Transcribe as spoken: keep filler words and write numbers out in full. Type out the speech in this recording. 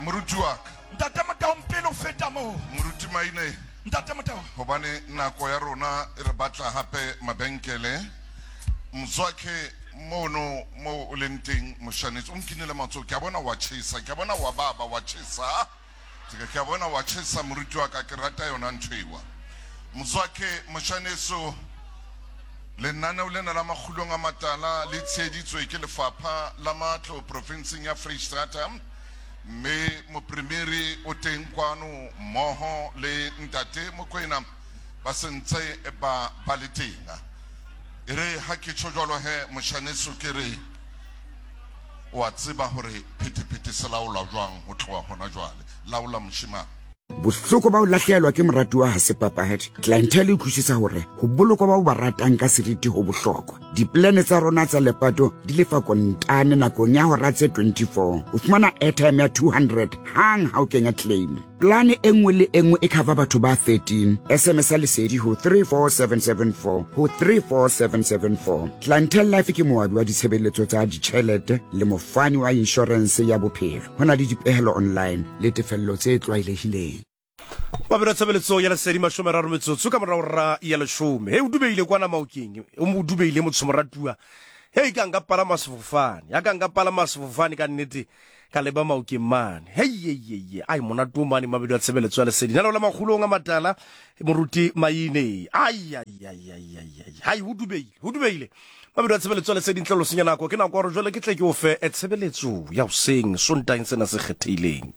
Moruti wa ka. Ntate Motaung, pele o feta moo. Moruti Maine. Ntate Motaung. Hobane nako ya rona e re batla hape mabenkele. Mzwakhe mono mo o leng teng moshanetsi o nkinele matsoho, ke a bona wa tjhesa, ke a bona wa baba wa tjhesa, ke a bona wa tjhesa moruti wa ka, ke rata yona ntho ewa. Mzwakhe moshaneso, lenaneo lena la Makgulong a Matala le tsheheditswe ke lefapha la matlo profinseng ya Freistata, mme mopremiri o teng kwano mmoho le ntate Mokwena ba sentse ba ba le teng. E re ha ke tjho jwalo he moshaneso, ke re wa tseba hore phethephethe se laolwa jwang ho tloha hona jwale. Laola moshemane. Bohloko ba ho lahlehelwa ke moratuwa ha se papadi. Clientele e utlwisisa hore ho bolokwa ba o ba ratang ka seriti ho bohlokwa. Diplane tsa rona tsa lepato di lefa kontane nakong ya hora tse twenty-four. O fumana airtime ya two hundred hang ha o kenya claim. Plane e nngwe le e nngwe e cover batho ba thirteen. S M S ya lesedi ho three four seven seven four ho three four seven seven four. Clientele Life ke moabi wa ditshebeletso tsa ditjhelete le mofani wa insurance ya bophelo. Ho na le dipehelo online le tefello tse tlwaelehileng. Mabelo tshebeletso ya lesedi mashome a mararo metsotso ka morao ra ya leshome. He o dubeile kwana Maokeng, o mo dubeile motho moratuwa. He ka nka palama sefofane, ya ka nka palama sefofane ka nnete ka leba Maokeng mane. Hei ye ye ye, ai monate o mane mabelo a tshebeletso ya lesedi. Nalo la Makgulong a Matala moruti Maine. Ai ai ai ai ai. Hai ho dubeile, ho dubeile. Mabelo a tshebeletso ya lesedi ntle lo senya nako. Ke nako ya hore jwale ke tle ke o fe tshebeletso ya hoseng Sontaeng sena se kgethehileng.